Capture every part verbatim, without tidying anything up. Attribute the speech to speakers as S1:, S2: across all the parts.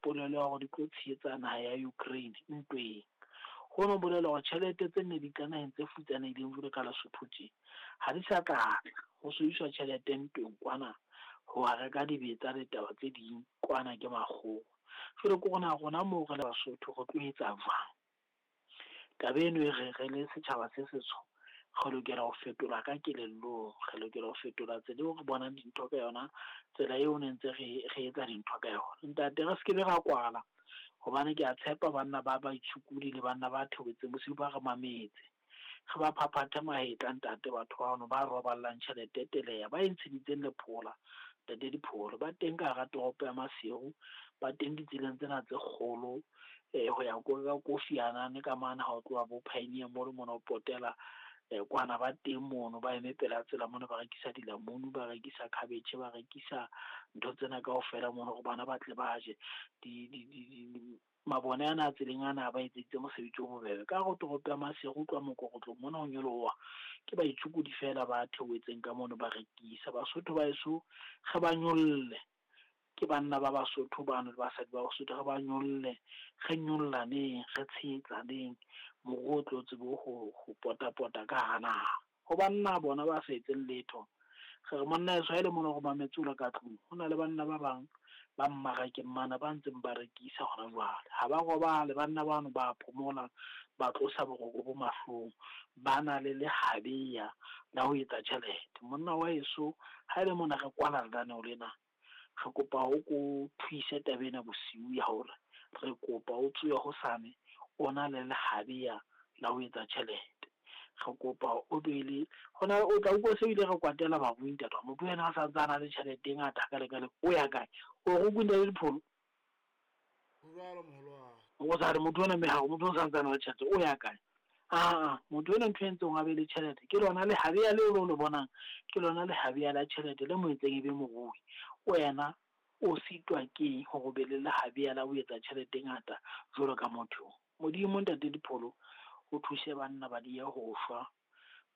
S1: polelo ya hore di tlo tshehetsa naha ya Ukraine ntweng. Hono bolela hore tjhelete tse ne di tla naheng tse futsanehileng jwalo ka Lesotho tje, ha di sa tla tla ho sebediswa tjhelete ntweng kwana ho reka dibetsa le taba tse ding kwana ke makgowa. Jwale ke rona rona moo re le Basotho re tlo etsa jwang? Taba eno e re re le setjhaba se setsho re lokela ho fetola ka kelellong, re lokela ho fetola tsela eo re bonang dintho ka yona, tsela eo ne ntse re re etsa dintho ka yona. Ntate re skebe ra kwala hobane ke a tshepa banna ba baitshokodi le banna ba theohetseng bosiu ba re mametse. Re ba phaphathe mahetla ntate batho bano ba roballang tjhelete teleya, ba e ntsheditseng lephola ntate Dipholo. Ba teng ka hara toropo ya Maseru, ba teng ditseleng tsena tse kgolo eh ho ya ko ka Kofi Annan ka mane ha o tloha bo Pioneer Mall mona o potela eh kwana ba teng mono, ba eme pela tsela mono ba rekisa dilamunu, ba rekisa cabbage, ba rekisa ntho tsena kaofela mono hore bana ba tle ba je. Di di di di mabone ana a tseleng ana ba etseditse mosebetsi o bobebe. Ka hare ho toropo ya Maseru ho tloha mokorotlong mona ho nyoloha, ke baitshokodi feela ba theohetseng ka mono ba rekisa. Basotho ba heso re ba nyolle, ke banna ba Basotho bano le basadi ba Basotho, re ba nyolle, re nyollaneng, re tshehetsaneng, moruo o tlo tsebe ho ho pota-pota ka hara naha. Ho banna bona ba sa etseng letho, re re monna heso ha ele mona o re mametse o le ka tlung, ho na le banna ba bang ba mmarakeng mana ba ntseng ba rekisa hona jwale. Ha ba robale banna bano, ba phomola, ba tlosa boroko bo mahlong, ba na le lehabeya la ho etsa tjhelete. Monna wa heso ha ele mona re kwala lenaneo lena, re kopa o ko thuise taba ena bosiu ya hore re kopa o tsohe hosane o na le lehabeya la ho etsa tjhelete. Re kopa o be le hona o tla utlwa se ile re kwatela barui ntate wa motho yena a sa ntse a na le tjhelete e ngata hakale-kale, o ya kae? O re o ntate Dipholo?
S2: Ho jwalo moholo wa ka.
S1: O sa re motho ona meharo, motho o sa ntse a na le tjhelete, o ya kae? Aa, motho ena ntho e entseng a be le tjhelete ke lona lehabeya leo le o le bonang, ke lona lehabeya la tjhelete le mo entseng e be morui. Wena o sitwa keng hore o be le lehabeya la ho etsa tjhelete e ngata jwalo ka motho? Modimo ntate Dipholo o thuse banna ba diye ho shwa.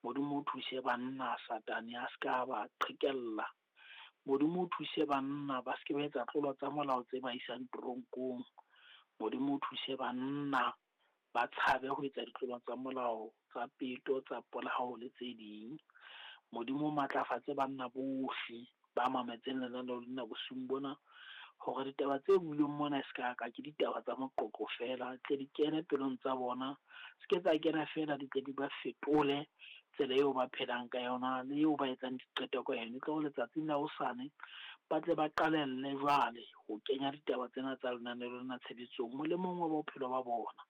S1: Modimo o thuse banna Satane a ska ba qhekella. Modimo o thuse banna ba ske ba etsa tlolo tsa molao tse ba isang toronkong. Modimo o thuse banna ba tshabe ho etsa ditlolo tsa molao tsa peto, tsa polao le tse ding. Modimo o matlafatse banna bohle ba mametseng lenaneo lena bosiung bona, hore ditaba tse builweng mona e ska ka ke ditaba tsa moqoqo feela, tle di kene pelong tsa bona, se ke tsa kena feela, di tle di ba fetole tsela eo ba phelang ka yona le eo ba etsang diqeto ka yona. E tlo re letsatsing la hosane ba tle ba qalelle jwale ho kenya ditaba tsena tsa lenaneo lena tshebetsong molemong wa bophelo ba bona.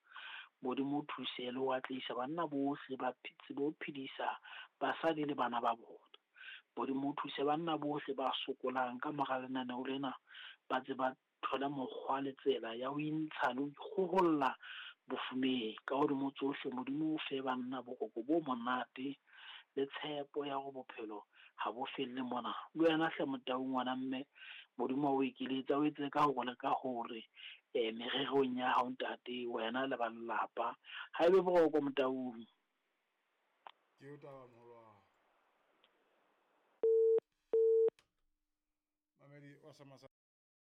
S1: Modimo o thuse le ho atlehisa banna bohle ba tsebe ho phedisa basadi le bana ba bona. Modimo o thuse banna bohle ba sokolang ka mora lenaneo lena, ba tse ba thole mokgwa le tsela ya ho intsha le ho ikgoholla bofumeng. Ka hodimo tsohle, Modimo o fe banna boroko bo monate le tshepo ya hore bophelo ha bo felle mona. Le wena hle Motau ngwana mme, Modimo a o ekeletse, a o etse ka hore le ka hore eh mererong ya hao ntate, wena le ba lelapa. Ha ebe boroko Motaung.
S2: Ke o taba moholo wa ka. Mamedi wa Samasa